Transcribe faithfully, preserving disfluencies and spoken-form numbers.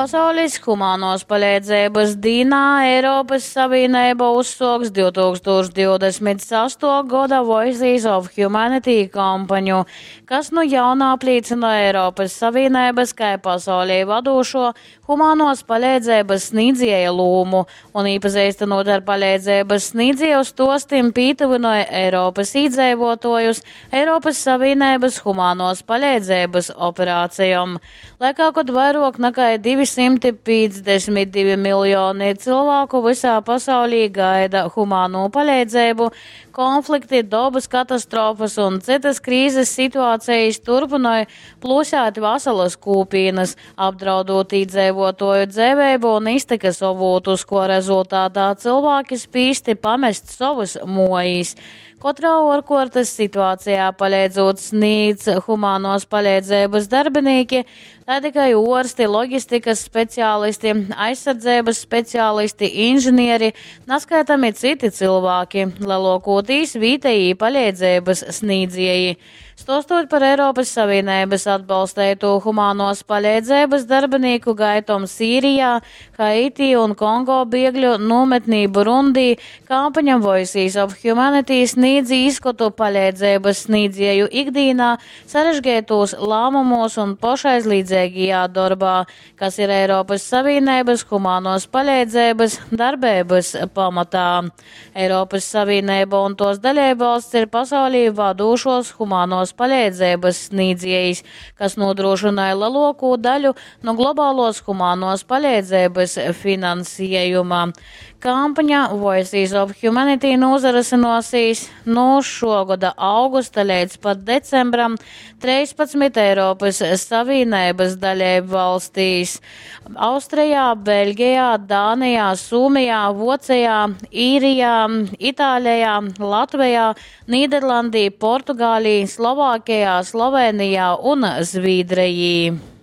Pasaulis humanuos paleidzeibys dīnā Eiropys Savīneiba uzsuoks div tūkstūš divdesmit sastuo goda Voices of Humanity kampaņu, kas nu jauna aplīcynoj Eiropys Savīneibys kai pasaulī vadūšuo humanuos paleidzeibys snīdzieja lūmu un, īpazeistynūt ar paleidzeibys snīdzieju stuostim, pītyvynoj Eiropys īdzeivuotuojus Eiropys Savīneibys humanuos paleidzeibys operacejom. Laikā, kod vairuok nakai divi symti piecdesmit divi miljoni cylvāku vysā pasaulī gaida humanū paleidzeibu, konflikti, dobys katastrofys un cytys krīzes situacejis turpynoj plūsēt vasalys kūpīnys, apdraudūt īdzeivuotuoju dzeiveibu un iztykys ovūtus, kuo rezultatā cylvāki spīsti pamest sovys muojis. Kotrā uorkuortys situacejā paleidzūt snīdz humanuos paleidzeibys darbinīki, taidi kai uorsti, logistikys specialisti, aizsardzeibys specialisti, inžinieri, naskaitami cyti cylvāki, leluokūtīs vītejī paleidzeibys snīdzieji. Stuostot par Eiropys Savīneibys atbalsteitū humanuos paleidzeibys darbinīku gaitom Sīrijā, Haiti un Kongo biegļu nūmetnī Burundī, kampaņa Voices of Humanity snīdz īskotu paleidzeibys snīdzieju ikdīnā, sarežgeitūs lāmumūs un pošaizlīdzeigajā dorbā, kas ir Eiropys Savīneibys humanuos paleidzeibys darbeibys pamatā. Eiropys Savīneiba un tuos daleibvalsts ir pasaulī vadūšuos humanuos paleidzeibys snīdziejis, kas nūdrūšynoj leluokū daļu nu globaluos humanuos paleidzeibys finansiejuma. Kampaņa Voices of Humanity nūsarysynuosīs nu šuo goda augusta leidz pat decembram treispadsmit Eiropys Savīneibys daleibvalstīs – Austrejā, Beļgejā, Dānejā, Sūmijā, Vuocejā, Īrijā, Itālejā, Latvejā, Nīderlandī, Portugālī, Slovākejā, Slovenijā un Zvīdrejī.